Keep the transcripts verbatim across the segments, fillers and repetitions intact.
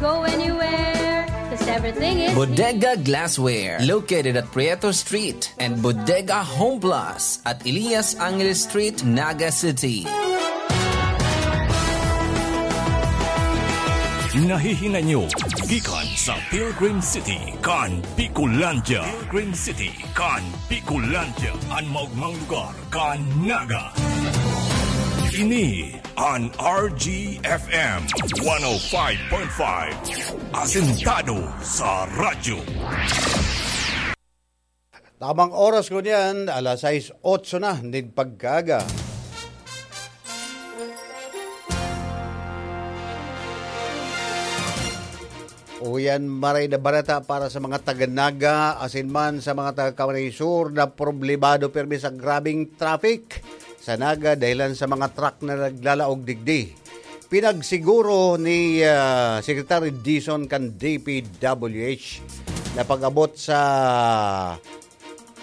Go anywhere, 'cause everything is Bodega Glassware, located at Prieto Street and Bodega Home Plus at Elias Angeles Street, Naga City. Nahihinay nyo gikan sa Pilgrim City kan Bicolandia. Pilgrim City kan Bicolandia, an maogmang lugar kan Naga. Ini an R G F M one oh five point five, asentado sa radyo. Tamang oras ko niyan, alas sais otso na nin pagkaaga. Uyan, maray na bareta para sa mga taga Naga, asin man sa mga taga Camarines Sur na problemado pirmi sa grabeng traffic sa Naga dahilan sa mga truck na naglalaog digdi. Pinagsiguro ni, ah, Secretary Dizon kan D P W H na pag-abot sa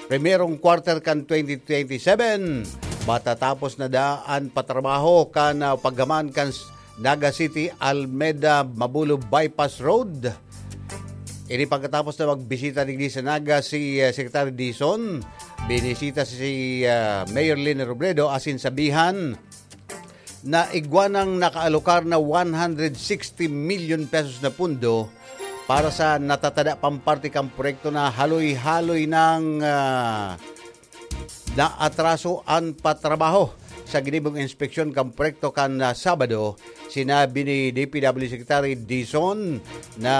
primerong quarter kan twenty twenty-seven, matatapos na daa an patrabaho kan, ah, paggaman kan s-, Naga City Almeda Mabulo Bypass Road. Ini pagkatapos na magbisita digdi sa Naga si, ah, Secretary Dizon, binisita si, ah, Mayor Leni Robredo asin sabihan na igwa nang nakaalokar na one hundred sixty million pesos na pundo para sa natatada pang parte kan proyekto na haloy-haloy nang, ah, naatraso an patrabaho. Sa ginibong inspeksyon kan proyekto kan, ah, Sabado, sinabi ni D P W Secretary Dizon na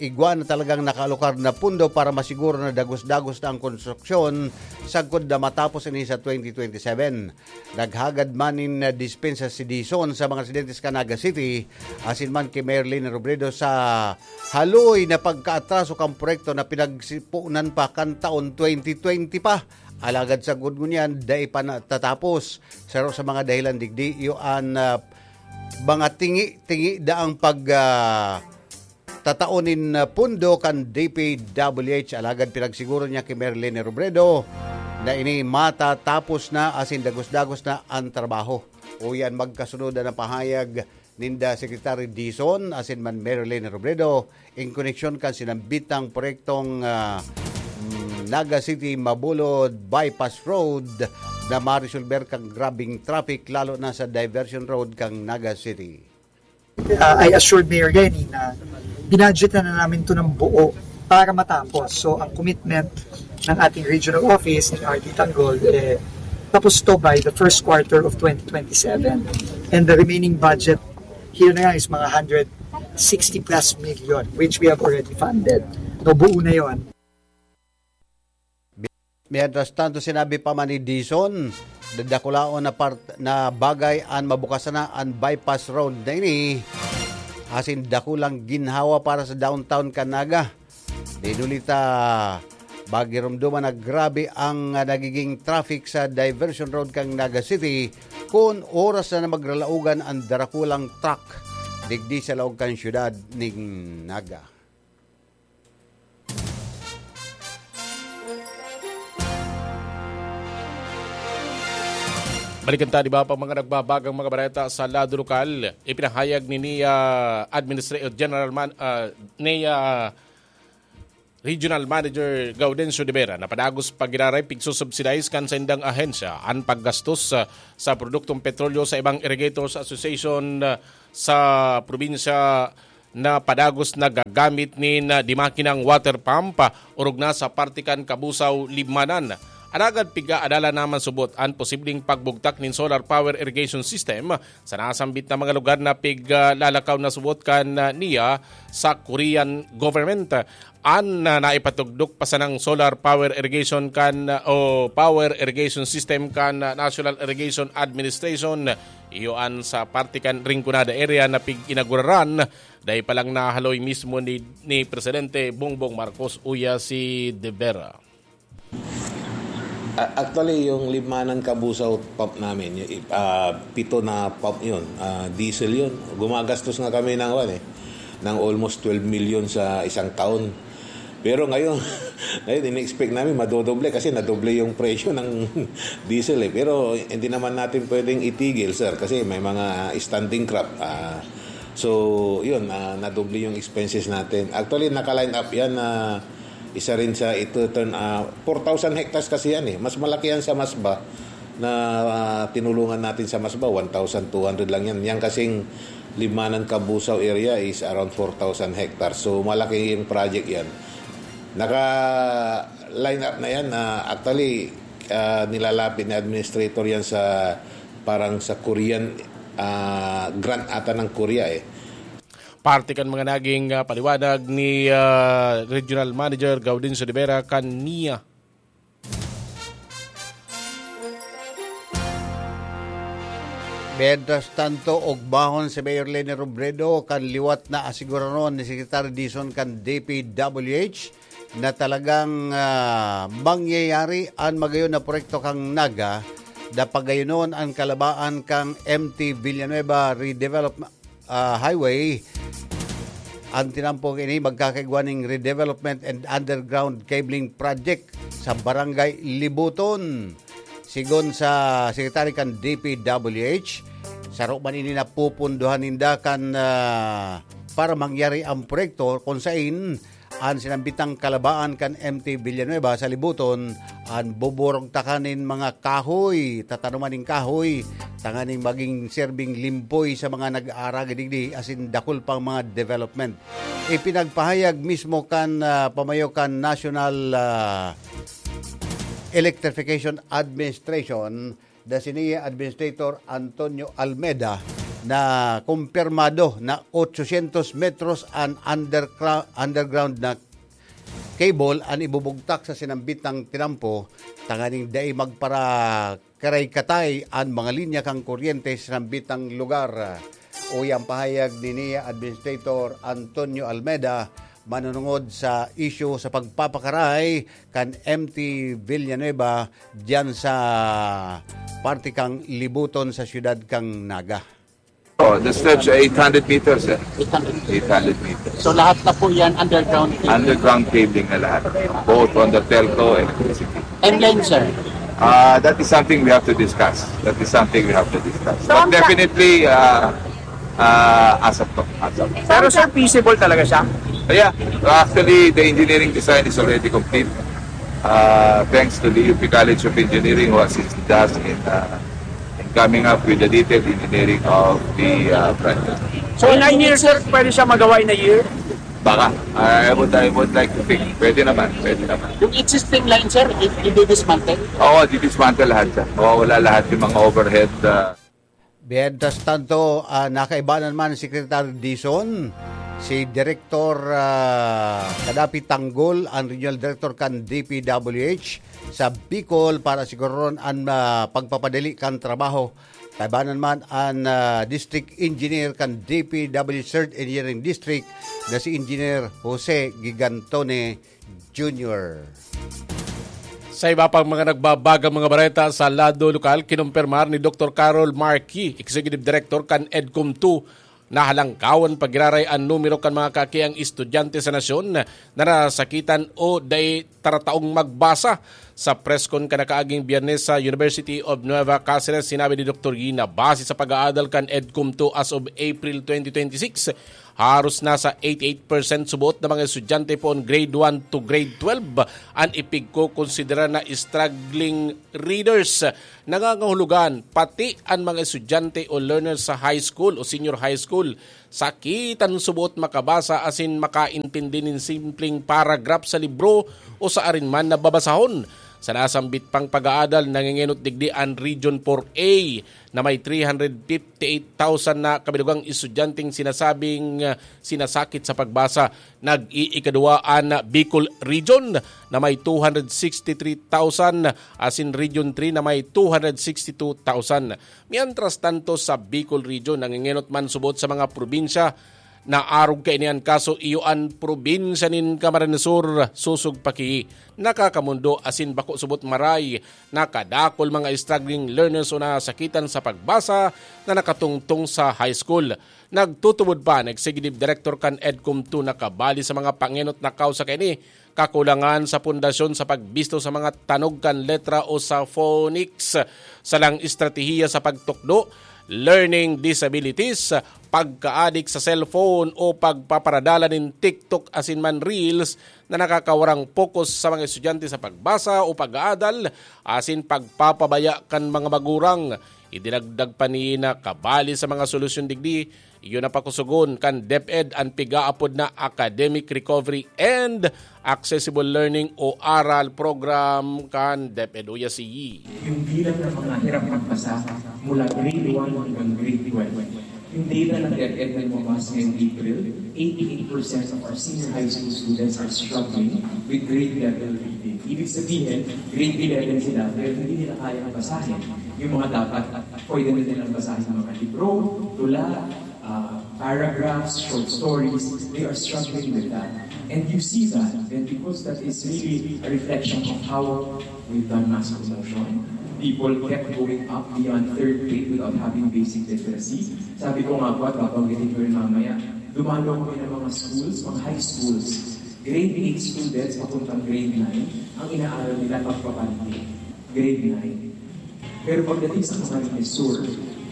igwa na talagang nakaalokar na pundo para masiguro na dagos-dagos na ang konstruksyon sagkod na matapos ini sa twenty twenty-seven. Naghagad man nin, ah, dispensa si Dizon sa mga residentes kan Naga City, asin man ki Mayor Leni Robredo sa haloy na pagkaatraso kan proyekto na pinagsiponan pa kan taon twenty twenty pa. Alagad sagkod ngunyan, dai pa natatapos. Saro sa mga dahilan digdi, iyo an, ah, mga tingi-tingi daang pag, ah, tatao nin, ah, pundo kan D P W H, alagad pinagsiguro niya ki Mayor Leni Robredo na ini matatapos na asin dagos-dagos na an trabaho. Uyan, magkasunod na pahayag ninda Secretary Dizon asin man Mayor Leni Robredo in koneksyon kan sinambitang proyektong, ah, mm, Naga City Mabulod Bypass Road na maresolber kan grabing traffic, lalo na sa diversion road kan Naga City. Uh, I assured Mayor Leni na binadgetan na namin 'to ng buo para matapos. So, ang commitment ng ating regional office, ni R D Tanggol, eh, tapos 'to by the first quarter of twenty twenty-seven. And the remaining budget here na nga is mga hundred sixty plus million, which we have already funded. No, buo na 'yon. Mientras tanto, sinabi pa man ni Dizon, dadakulaon na part-, na bagay an mabukasan na an bypass road na ini, asin dakulang ginhawa para sa downtown kan Naga. Dinulita, magiromdoman na grabe ang, ah, nagiging traffic sa diversion road kan Naga City kun oras na, na magralaogan an darakulang truck digdi sa laog kan siyudad ning Naga. Balikan ta, di ba, pang mga nagbabagang mga bareta sa lado lokal. Ipinahayag ni NIA Administra-, General Man-, ah, NIA Regional Manager Gaudencio de Vera na padagos pa giraray pigsusubsidize kan saindang ahensya an paggastos, ah, sa produktong petrolyo sa ibang Irrigators Association, ah, sa probinsya na padagos nagagamit nin, ah, di makinang water pump, ah, orog na sa parte kan Kabusaw, Libmanan. Alagad piga-adalan na man subot an posibleng pagbugtak nin solar power irrigation system sa nasambit na mga lugar na piglalakaw na subot kan, ah, NIA sa Korean government. An, ah, naipatugdok pa sanang solar power irrigation kan, ah, o power irrigation system kan, ah, National Irrigation Administration, iyo an sa parte kan Rinconada area na pig-inaguraran, dai pa lang nahaloy mismo ni, ni Presidente Bongbong Marcos, uya si De Vera. A-, actually, yung Libmanan Kabusaw pump namin, yung, ah, pito na pump yun, ah, diesel yun. Gumagastos nga kami ng, ano eh, ng almost twelve million sa isang taon. Pero ngayon, ngayon, in-expect namin madodoble kasi nadoble yung presyo ng diesel eh. Pero hindi naman natin pwedeng itigil, sir, kasi may mga standing crop. Ah, So, yun, ah, nadoble yung expenses natin. Actually, naka-line up yan na isa rin sa ito, turn, ah, four thousand hectares kasi yan eh. Mas malaki yan sa Masba na, ah, tinulungan natin sa Masba, one thousand two hundred lang yan. Yan kasing Libmanan Cabusao area is around four thousand hectares. So, malaki yung project yan. Naka-line up na yan. Ah, actually, ah, nilalapit ni administrator yan sa, parang sa Korean, ah, grant ata ng Korea eh. Parte kan mga naging, ah, paliwanag ni, ah, Regional Manager Gaudencio de Vera kan NIA. Mientras tanto, ogbahon si Mayor Leni Robredo kan liwat na asiguradon ni Secretary Dizon kan D P W H na talagang, ah, mangyayari an magayon na proyekto kan Naga na pagayonon an kalabaan kan M T Villanueva Redevelopment, ah, Highway. An tinampok ini magkakaigwa ning redevelopment and underground cabling project sa Barangay Libuton. Sigon sa Secretary kan D P W H, saro man ini napupundohan ninda kan, ah, para mangyari ang proyekto kung sain an sinambitang kalabaan kan M T Villanueva sa Libuton, an buburugtakan nin mga kahoy, tatanuman nin kahoy, tanganing maging serbing limpoy sa mga nag-aaragi digdi asin dakul pang mga development. Ipinagpahayag mismo kan, ah, pamayo kan National, ah, Electrification Administration, the Sinea Administrator Antonio Almeda, na kumpirmado na ochocientos metros an undercra-, underground na cable an ibubugtak sa sinambitang tinampo, tanganing dai magparakaray-katay an mga linya kan kuryente sa sinambitang lugar. Uya an pahayag ni NIA Administrator Antonio Almeda manunungod sa isyu sa pagpapakaray kan M T Villanueva diyan sa parte kan Libuton sa siyudad kan Naga. Oh, the stretch ay eight hundred meters, eh. Eight hundred. Eight hundred meters. So, lahat na po yan underground cabling? Underground cabling na lahat. Both on the telco, electricity. Timeline, sir? Ah, that is something we have to discuss. That is something we have to discuss. So, But ang sa- definitely, ah, ah, ASAP to. ASAP. Pero, sir, feasible talaga siya? Yeah, actually, the engineering design is already complete. Uh, thanks to the U P College of Engineering who assisted us in, uh, in coming up with the detailed engineering of the, uh, project. So, in a year, sir, pwede siya magawa in a year? Baka. I would, I would like to think. Pwede naman, pwede naman. Yung existing line, sir, i-, i-dismantle? Oo, di-dismantle lahat siya. Mawawala lahat yung mga overhead, uh, Mientras tanto, ah, nakaibanan man si Secretary Dizon, si Direktor, ah, Kadapi Tanggol, ang Regional Director kan D P W H sa Bicol para siguroon an, ah, pagpapadali kan trabaho. Kaibanan man an, ah, District Engineer kan D P W Third Engineering District na si Engineer Jose Gigantone Junior. Sa iba pang mga nagbabagang mga bareta sa lado lokal, kinumpirmar ni Doktor Carol Marquis, Executive Director kan EDCOM two, na halangkawan pa giraray an numero kan mga kakiang estudyante sa nasyon na nasakitan o dai tarataong magbasa. Sa press con kan nakaaging Biyernes sa University of Nueva Caceres, sinabi ni Doktor Yee na base sa pag-aadal kan EDCOM two as of April twenty twenty-six, haros nasa eighty-eight percent subot na mga estudyante poon grade one to grade twelve an ipigkokonsidera na struggling readers. Nangangahulugan, pati an mga estudyante o learners sa high school o senior high school, sakitan subot makabasa asin makaintindi nin simpleng paragraph sa libro o sa arin man na babasahon. Sa nasambit pang pag-aadal, nangengenot digdi an Region four A na may three hundred fifty-eight thousand na kabilugang estudyanteng sinasabing, ah, sinasakit sa pagbasa. Nag-iikadua an Bicol Region na may two hundred sixty-three thousand, asin Region three na may two hundred sixty-two thousand. Mientras tanto, sa Bicol Region, nangengenot man subot sa mga probinsya na arog kaini an kaso, iyo an probinsya nin Camarines Sur, Sosog, Paquie, nakakamondo asin bako subot maray na kadakul mga struggling learners o nasakitan sa pagbasa na nakatungtong sa high school. Nagtutubod pa an Executive Director kan EDCOM two na kabali sa mga pangenot na kausa kaini, kakulangan sa pundasyon sa pagbisto sa mga tanog kan letra o sa phonics, salang estratehiya sa pagtukdo learning disabilities, pagkaadik sa cellphone o pagpaparadala nin TikTok asin man Reels na nakakawarang focus sa mga estudyante sa pagbasa o pag-aadal asin pagpapabaya kan mga magurang. Idinagdag pa niya na kabali sa mga solusyon digdi, iyo na pakusugon kan DepEd an pigaapod na Academic Recovery and Accessible Learning o ARAL program kan DepEd. Uya si Yi. Yung bilang ng mga hirap magbasa mula grade one hanggang grade twelve. Yung data ng DepEd na lumabas ngayong April, eighty-eight percent of our senior high school students are struggling with grade level reading. Ibig sabihin, grade eleven sila, pero hindi nila kayang basahin yung mga dapat pwede na nilang basahin, mga libro, tula, uh, paragraphs, short stories. They are struggling with that. And you see that, and because that is really a reflection of how we've done mass promotion. People kept going up beyond third grade without having basic literacy. Sabi ko nga po, at babanggitin ko rin mamaya, dumalo kami ng mga schools, mga high schools. Grade eight students papuntang grade nine, ang inaaral nila pagpapante. Grade nine. Pero pagdating sa Camarines Sur,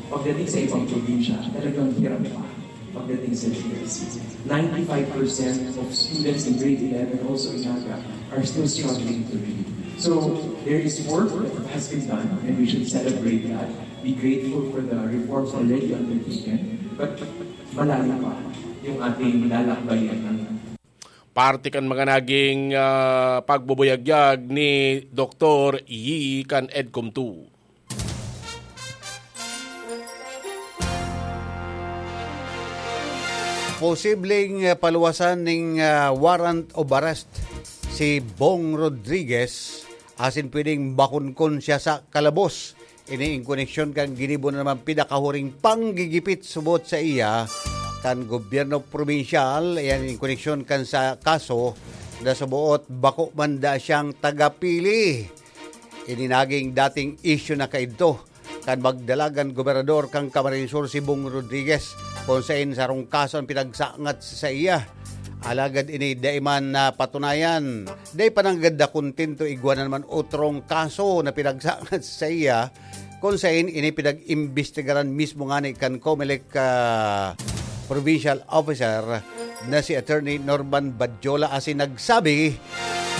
pagdating sa ibang probinsya, talagang hirap pa pagdating sa literacy. Ninety-five percent of students in grade eleven, also in Naga, are still struggling to read. So, there is work that has been done, and we should celebrate that. Be grateful for the reforms already undertaken, but malalim pa yung ating lalakbayan. Parte kan mga naging, ah, pagbubuyagyag ni Doktor Yi kan EDCOM two. Posibleng, ah, paluwasan ning, ah, warrant of arrest si Bong Rodriguez asin pwedeng makonkon siya sa kalabos. Ini in koneksyon kan ginibo na naman pinakahuring panggigipit subot sa iya kan gobyerno probinsyal, ayan, in koneksyon kan sa kaso na suboot bako man da siyang tagapili. Ini naging dating isyu na kaidto kan magdalagan gobernador kan Camarines Sur si Bong Rodriguez, kung sain sarong kaso ang pinagsangat sa iya. Alagad ini dai man napatunayan. Dai pa nanggad na kontento, igwa na naman otrong kaso na pinagsangat sa iya, kung sain ini pinag-imbestigaran mismo ngani kan Comelec, ah, provincial officer na si Attorney Norman Badjola, asin nagsabi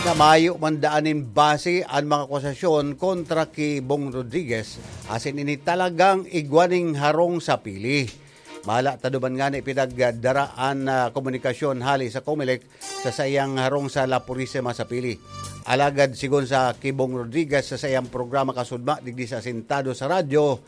na mayo man daan nin base an mga akusasyon kontra ki Bong Rodriguez, asin ini talagang igwa nin harong sa pili. Mahala ta duman ngani pinagdara an, ah, komunikasyon hali sa Comelec sa saiyang harong sa La Purisima sa pili. Alagad sigon sa ki Bong Rodriguez sa saiyang programa Kasudma digdi sa Asintado sa Radyo,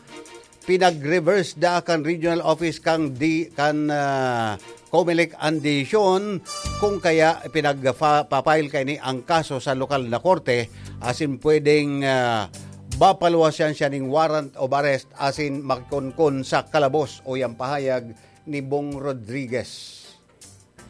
pinag-reverse da kan regional office kan di, kan, ah, Comelec an desisyon, kung kaya pinagfa-, pa-file kaini ang kaso sa lokal na korte, asin pwedeng, ah, mapaluwasan siya ning warrant of arrest asin makonkon sa kalabos, uya an pahayag ni Bong Rodriguez.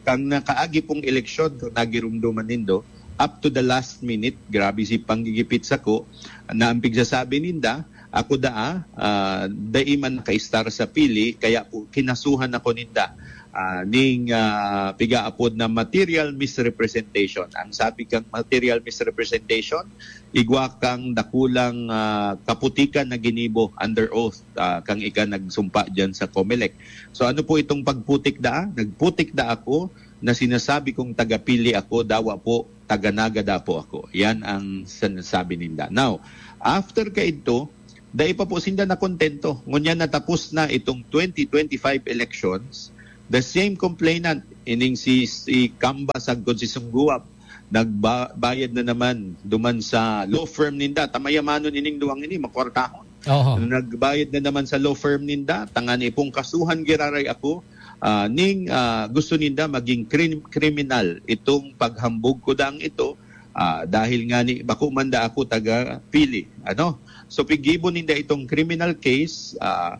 Kan nakaagi pong eleksyon, kung nagirumduman nindo, up to the last minute, grabe si panggigipit sako, na ang pigsasabi ninda, ako daa, ah, dai man nakaistar sa pili, kaya po kinasuhan ako ninda, ah, ning, ah, pigaapod na material misrepresentation. Ang sabi kang material misrepresentation, igwa kang dakulang, ah, kaputikan na ginibo under oath, ah, kang ika nagsumpa diyan sa Comelec. So ano po itong pagputik daa? Nagputik da ako na sinasabi kong tagapili ako, dawa po, taga-Naga da po ako. Yan ang sinasabi ninda. Now, after kaidto, dai pa po sinda nakontento. Ngunyan natapos na itong twenty twenty-five elections, the same complainant, ining si, si Kamba sagkod si Sungguwab, nagbayad na naman duman sa law firm ninda. Tamayamanon ining duwang ini, makwartahon. Oho. Nagbayad na naman sa law firm ninda, tangani pong kasuhan giraray ako, ah, ning, ah, gusto ninda maging krim-, kriminal itong paghambog ko dang ito, ah, dahil nga ni, bako man da ako taga pili, ano? So, pigibo ninda itong criminal case, ah,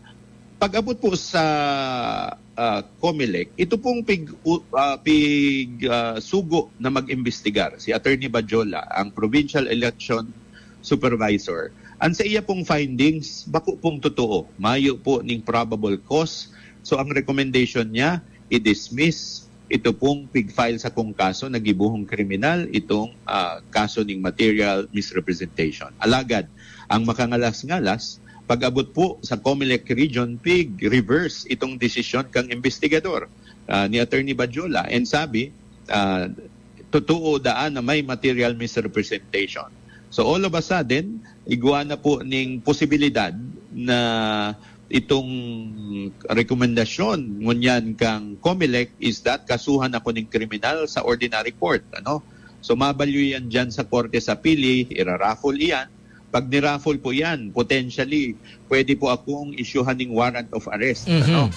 pag-abot po sa, ah, Comelec, ito pong pig-, u-, ah, pig-, ah, sugo na mag-imbestigar, si Attorney Bajola, ang provincial election supervisor. Ang sa iya pong findings, bako pong totoo. Mayo po ning probable cause. So, ang recommendation niya, i-dismiss ito pong pig-file sa kong kaso na gibohong kriminal, itong, ah, kaso ning material misrepresentation. Alagad, ang makangalas-ngalas, Pag-abot po sa Comelec Region, pig-reverse itong desisyon kang investigador, ah, ni Attorney Badjola, and sabi, ah, totoo daan na may material misrepresentation. So, all of a sudden, igwa na po ning posibilidad na itong rekomendasyon ngunyan kang Comelec is that kasuhan ako ning kriminal sa ordinary court, ano? So, mabalyo yan dyan sa Korte sa Pili, iraraffle iyan. Pag niraffle po yan, potentially, pwede po akong isyuhan ng warrant of arrest, Mhm. ano?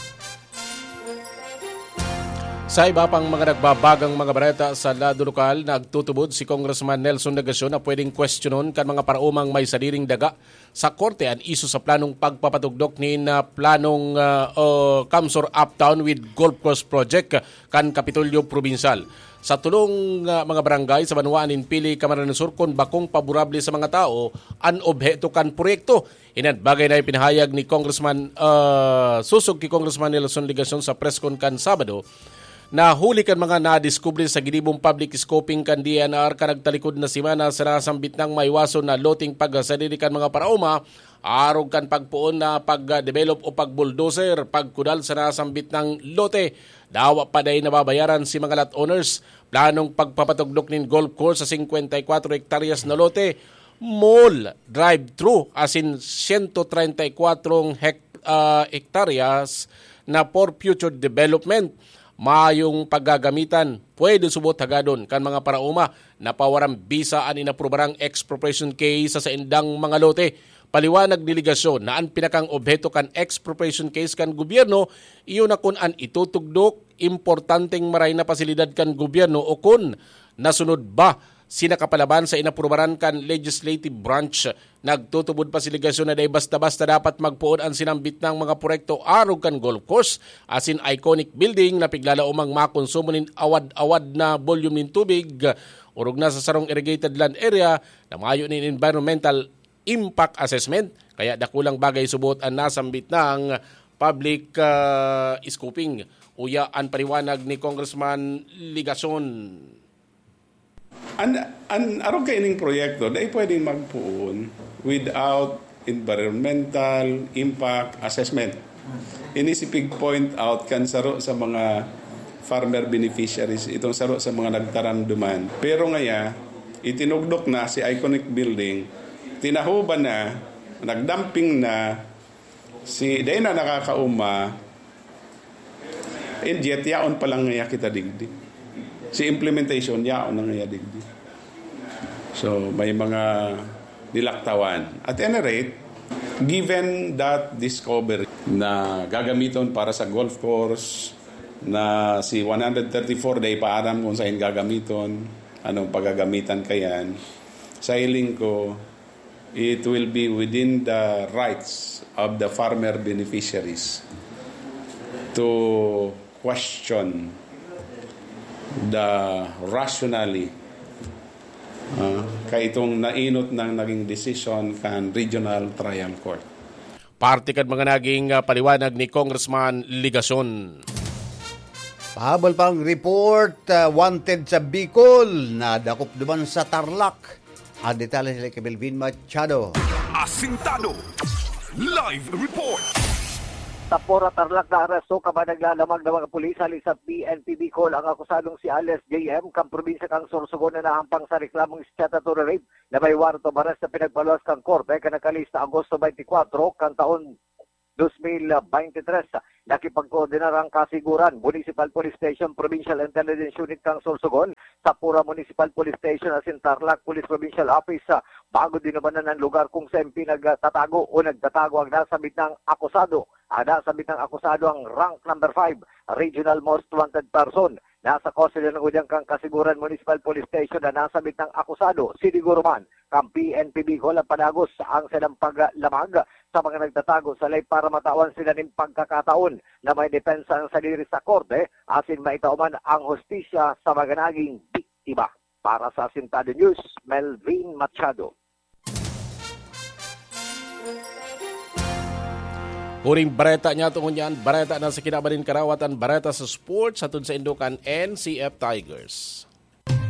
Sa iba pang mga nagbabagang mga bareta sa lado lokal, nagtutubod si Congressman Nelson Legacion na pwedeng kwestiyonon kan mga paraumang may sadiring daga sa korte an isu sa planong pagpapatugdok nin, ah, planong, ah, o CamSur Uptown with Golf Course Project kan Kapitolyo Probinsal. Sa tulong, ah, mga barangay sa banwaan nin Pili, Camarines Sur, kun bakong paborable sa mga tao an obheto kan proyekto. Inan bagay na ipinahayag ni Congressman, ah, susog ki Congressman Nelson Legacion sa press con kan Sabado, na huli kan mga nadiskubre sa ginibong public scoping kan D E N R kan nagtalikod na semana sa nasambit nang maiwason na loteng pagsadiri kan mga paraoma, arog kan pagpoon na pag-develop o pag-bulldozer, pagkudal sa nasambit nang lote. Dawa pa dai nababayaran si mga lot owners. Planong pagpapatugdok nin golf course sa singkwenta y kwatro hektaryas na lote, mall, drive-thru, asin siyento treinta y kwatro hek-, ah, hektaryas na for future development. Mayong paggagamitan, pwede subot hagadon kan mga paraoma na pawaran bisa an inaprubarang expropriation case sa saindang mga lote. Paliwanag ni Legacion na an pinakang obheto kan expropriation case kan gobyerno, iyo na kun an itutugdok importanteng maray na pasilidad kan gobyerno o kun nasunod ba si nakapalaban sa inaprubaran kan legislative branch. Nagtutubod pa si Legacion na dai basta-basta dapat magpoon an sinambit nang mga proyekto arog kan golf course asin iconic building na piglalaomang makonsumo nin awad-awad na volume nin tubig, orog na sa sarong irrigated land area na mayo nin environmental impact assessment. Kaya dakulang bagay subot an nasambit nang public, ah, scoping. Uya an paliwanag ni Congressman Legacion. An, an arog kaining proyekto, dai pwedeng magpoon without environmental impact assessment. Ini si pig-point out kan saro sa mga farmer beneficiaries, itong saro sa mga nagtarandoman. Pero ngaya, itinugdok na si iconic building, tinahuban na, nagdumping na, si, dai na nakakauma, and yet, yaon pa lang ngaya kita digdi. Si implementation, yaon na ngaya digdi. So, may mga nilaktawan. At any rate, given that discovery na gagamiton para sa golf course, na si one hundred thirty-four, dai pa aram kung saan gagamiton, anong pagagamitan kayan, sa hiling ko, it will be within the rights of the farmer beneficiaries to question the rationale, ah, kaitong nainot ng naging decision kan Regional Trial Court. Parte kan mga naging, ah, paliwanag ni Congressman Legacion. Pahabol pang report, ah, wanted sa Bicol, nadakop duman sa Tarlac. Ang detalye nila kay Melvin Machado. Asintado. Live report. Sa Pora Tarlac na aresto kaban naglalamag na mga pulis hali sa P N P Bicol ang akusadong si alias J M kan probinsya kan Sorsogon na nahampang sa reklamong statutory rape na may warrant of arrest na pinagpaluwas kan korte kan nakalihis na Agosto twenty-four kan taon dos mil beintitres. Nakipagkoordinar ang Kasiguran Municipal Police Station, Provincial Intelligence Unit kan Sorsogon, sa Pura Municipal Police Station asin Tarlac Police Provincial Office, ah, bago dinumanan ang lugar kung saan pinagtatago o nagtatago ang nasambit na akusado. Ang nasambit na akusado ang rank number five, regional most wanted person. Nasa kustodiya ng udyang kan Kasiguran Municipal Police Station ang nasambit na akusado. Siniguro man kan P N P Bicol ang padagos sa saindang paglamag sa mga nagtatago sa lay para matawan sila nin pagkakataon na maidepensa an sadiri sa korte asin maitao man ang hustisya sa mga naging biktima. Para sa Asintado News, Melvin Machado. Huring bareta niyato ngunyan, bareta na sa kinaban nin karawatan, bareta sa sports, hatod saindo kan N C F Tigers.